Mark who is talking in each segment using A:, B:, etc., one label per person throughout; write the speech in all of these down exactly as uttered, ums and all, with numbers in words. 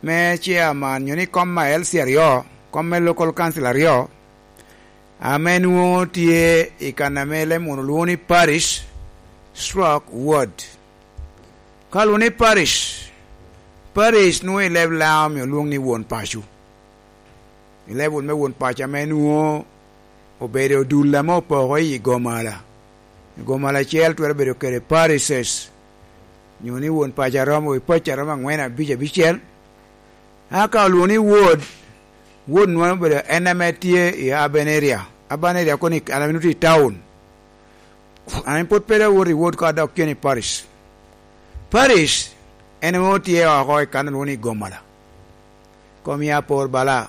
A: Me chairman nyo ni kom ma L C aryo, kom me local council aryo ame nwongo tye i kana me lemon olwongo ni parish stroke ward. Ka olwongo ni parish, parish nwongo i leb lango mi olwong ni won paco. I level me won paco ame nwongo obedo dul ame opoko i gomala. I gomala acel twero bedo kede parishes nyo ni won paco aromo i paci aromo angwen, abic, abicel. Aka olwongo ni ward, ward nwongo obedo en ame tye i urban area. Urban area koni ame tye i town. Ame pod pe dong awoto i ward ka adok cen i parish. Parish en nwongo tye oko i kana olwongo ni gomala. Kom ya por bala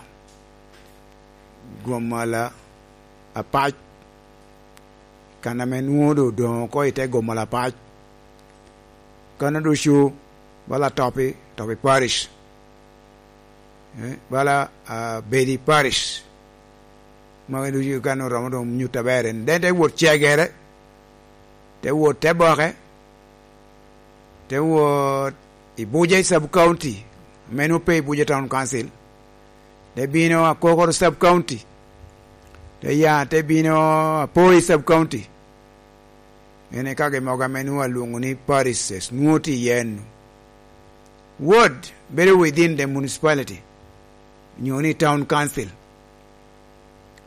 A: gomala apac kana ame nwongo dong odongo oko i te gomala apac. Kano ducu bala topi, topi parish. Bala bedi parish. Magi ducu kano oromo dong nyuto aber en. Then te wot cegere, te wot te boke, te wot i Buja sub county, meno pe i Buja town council. Te bino Akokoro sub county, te ya te bino Apoi sub county. Ene ka gimogo ame nwongo alwongo ni parishes nwongo tye iye enu. Ward bedo within the municipality nyo ni town council.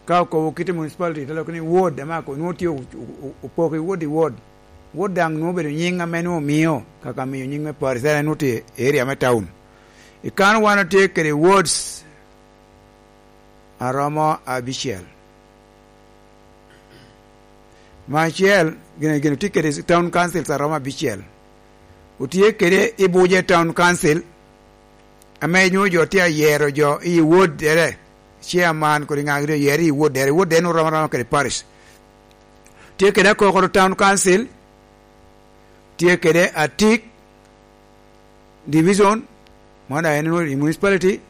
A: Ka okobo kite municipality te loko ni ward ame ako nwongo tye opoko i ward i ward. Ward dang nwongo obedo nying ame nwongo omio kaka miyo nying me parish ene nwongo tye area me town. I kan wan watye kede wards aromo abicel. Ma acel gine gine tye kede town councils aromo abicel. Otye kede i Buja town council ame nyo jo tye ayero jo i ward ere chairman kodi nga gitye ayero i ward ere. Ward ere oromo aroma kede parish. Tye kede Akokoro town council, tye kede Atik division mano en i municipality,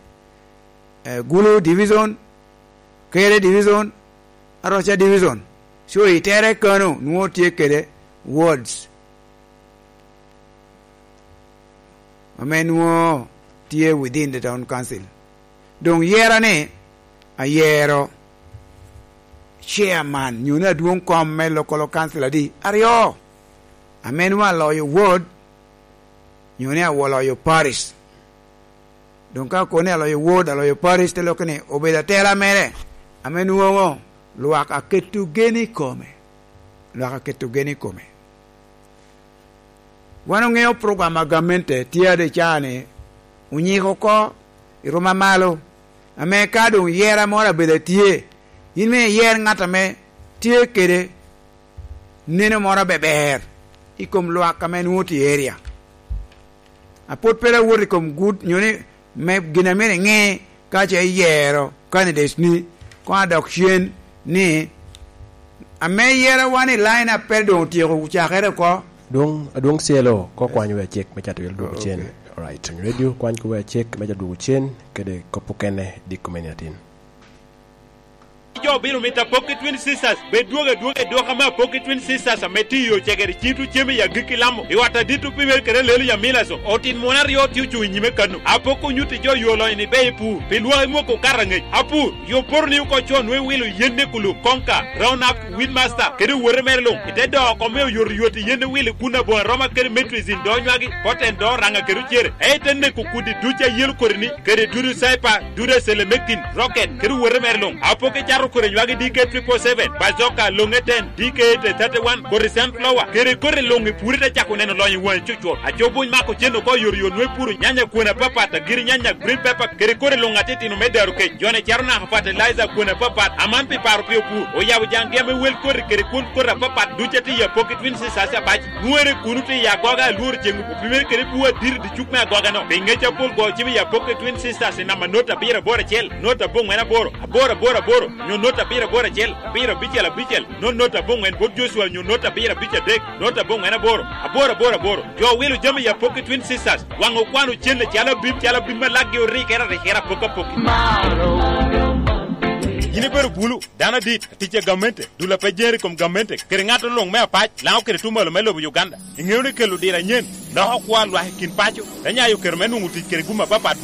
A: Gulu division, Kere division, Aroca division. So i tere kano nwo tye kede wards ame nwo tye within the town council. Dong yera ni ayero chairman nyo ni adwong kom me local council adi aryo ame nwo aloyo ward nyo ni aloyo parish. Dong ka koni aloyo ward, aloyo parish te loko ni obedo atela mere ame nwongo lwak aketo gen i kome. Lwak aketo gen i kome. Wan ongeo program a gamente tye ade caa ni onyiko ko i ruma malo ame ka dong yera moro abedo tye in me iyer ngat ame tye kede neno moro beber i kom lwak ame nwongo tye i area. Apod pe awot i kom good nyo ni me gin ame inge ka ce iyero candidates ni kong adok cen ni ame yera wan i line up pe dong otyeko cakere oko.
B: Dwong adwong cyelo ko kwany we acek me cato wil dwogo cen. Alright, radio kwany ko we acek me dwogo cen kede kopo kene dik komeni atin.
C: Jo bino mito Apokki Twin Sisters bed dwogo adwoga i duka me Apokki Twin Sisters ame tiyo cegere cintu cem i agikki lamo i ot adito pimer kede lelo ya milaso otin mon aryo tye ocung i nyime kanu. Apokki onyutti jo yo lonyo ni be ipur pi lwaki mwoko okato angec. Apur yo poto ni oko con nwe wilo yen ne kulum konka round up weedmaster kede owote mere lung ite doo kome oyotoyot i yen ne wilo kun abonga roma kede metrizin doo nywagi poten doo ranga kede ocere e ite neko kudi duc ayelo kodi ni kede dudu saipa dudu selemectin rocket kede owote mere lung. Apokki cato kore nywagi D K triple seven bazooka longe ten D K eight thirty one kore sunflower kede kore lung i puri te cako neno lonyo i wangi cucut. Acobuny mako cen oko yotoyot nwe puru nyanya kwon apapat agiri nyanya green pepper kede kore lung atitino me daro kec jone caro naka fertilizer kwon apapat aman pi paro pi opur oyabo jang gia me wel kore kede kwon kore apapat duca ti i Apokki Twin Sisters abac nwere kunu ti i agoga alworo ceng opimere kede buwa adiri di cuk me agoga no pi ngec apol go cim i Apokki Twin Sisters i namba not abiro aboro acel not abongwen aboro aboro aboro aboro nyo not abiro aboro acel abiro abicel abicel not not abongwen bot Joshua nyo not abiro abic adek not abongwen aboro aboro aboro aboro jo wilo jami i Apokki Twin Sisters wang okwano cen calo abim calo abim ma laggi orikere arikera apokki apokki. In ibedo bulu, dano adit, atic a gamente, dul pe jeri kom gamente, kede ngato lung me apac, lango kede tumalo me lobo Uganda. Ingeo ni kelo dira anyen, loko kwa lwak i kin paco, te nyayo kero me nungo tic kede gum apapat.